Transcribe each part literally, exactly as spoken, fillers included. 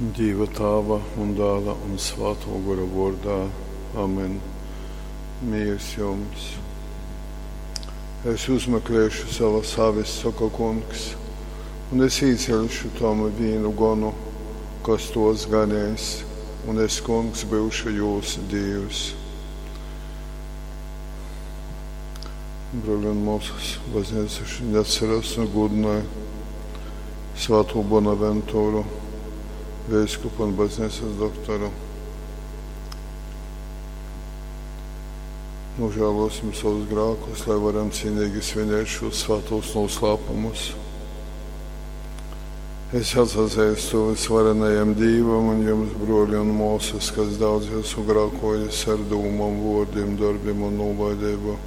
Dīva Tāva un Dāla un Svātō Gora vōrdā. Amen. Mīrs jums. Es uzmeklēšu savas avis, saka kungs, un es īceļšu tom vīnu gonu, kas tos ganēs, un es, kungs, byušu jūs Dīvs. Brōļi un mōsas, baznīca šodien atceras un gudināja Svēto Bonaventūru, veiskupu un baznīcas doktoru. Nožēlosim savus grēkus, lai varam cienīgi svinēt šos svētos noslēpumus. Es atzīstu visvarenajam Dievam un jums, broļi un māsas, kas daudz esmu grēkojis ar dūmām, vārdiem, darbiem un nolaidību.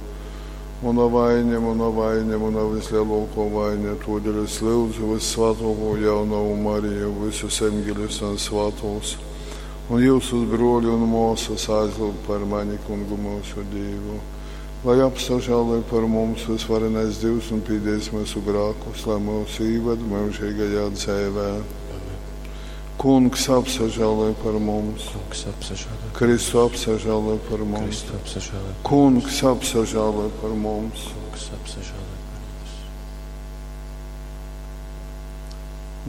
Muna vaina, muna vaina, muna vislielākā vaina, todēļ es lūdzu vissvētāko jaunavu Mariju, visus eņģeļus un svētos, un jūsus broļi un māsas aizlūdz par mani, kungu mūsu Dievu. Lai apsažēloja par mums visvarenais Dievs un pīdēs mūsu grēkus, lai mūs īved mūžīgajā dzīvē. Kungs apsažēloja par mums. Kungs apsažēloja. Kristu apsažēloja par mums. Kristu apsažēloja. Kungs apsažēloja par mums. Kungs apsažēloja par mums.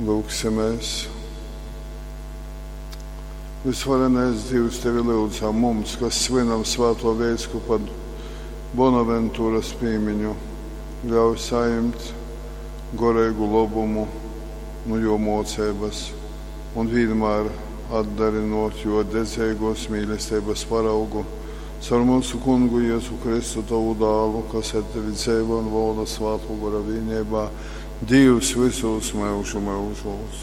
Lūgsimies. Visvarenais Dievs, tevi lūdzam mums, kas svinam svēto veiskupa Bonaventūras pīmiņu, ļauj saņemt gorēgu labumu no jo mocības un vienmēr atdarinot jo dedzīgos mīlestības paraugu caur mūsu kungu Jēzu Kristu tavu dālu, kas ar tevi dzīvo un valda svēto gora vienībā, Dievs visos mūžu mūžos.